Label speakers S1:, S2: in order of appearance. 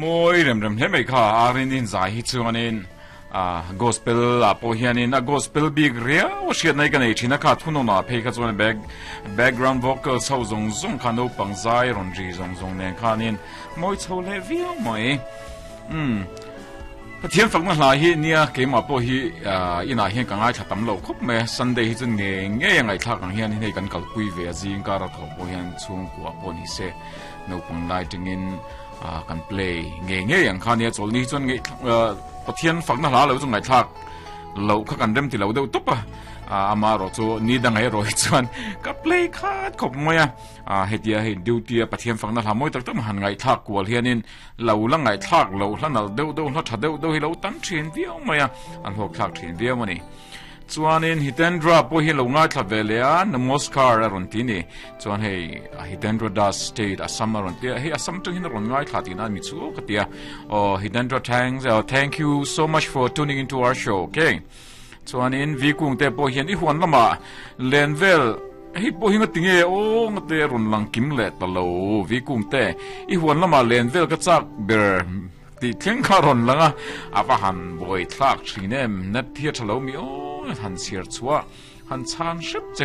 S1: Mawi rem rem hle mai kha a Rin zai hi chuanin a gospel ah pawh hianin a gospel bik riau a hriatna hi ka nei thin a kha thunawn ah phei kha chuan back background vocals ho zawng zawng kha naupang zai rawn ri zawng zawng nen khanin mawi chho leh viau mai umm Pathian fakna hla hi nia keimah pawh hi inah hian ka ngaithla tam lo khawp mai a Sunday hi chu ngei ngei a ngaihthlak ang hian hei kan kalpui ve a zing kar a thawh pawh hian chhungkua pawh ni se naupang lai tangin kan play ngei ngei ang kha nia chawlni hi chuan ngei Pathian fakna hla lo chu ngaihthlak loh kha kan rem ti lo deuh tawp a ama erawh chu ni dang erawh hi chuan ka play khat khawp mai a hetia hei duty a Pathian fakna hla mawi tak tak han ngaihthlak kual hianin lo la ngaihthlak loh hla nalh deuh deuh hla tha deuh deuh hi lo tam thin viau mai a a hlawkthlak thin viau a ni. Chuanin Hitendra pawh hi lo ngaithla ve leh a, Namaskar a rawn ti ni. Chuan hei Hitendra Das State Assam a rawn ti a, hei Assam tang hian a rawn ngaithla tihna a mi chu ka ti a. Aw Hitendra thanks, uh, thank you so much for tuning into our show, okay? Chuanin V Kung te pawh hian i huan lamah len vel hei pawh hi ngatinge aw ngate rawn lang kim leh ta lo V Kung te i huan lamah len vel ka chak ber Tih thleng kha a rawn lang a, a va han buai thlak thin em, net hi a tha lo mi aw, han chhiar chhuah, han chhan hrep che.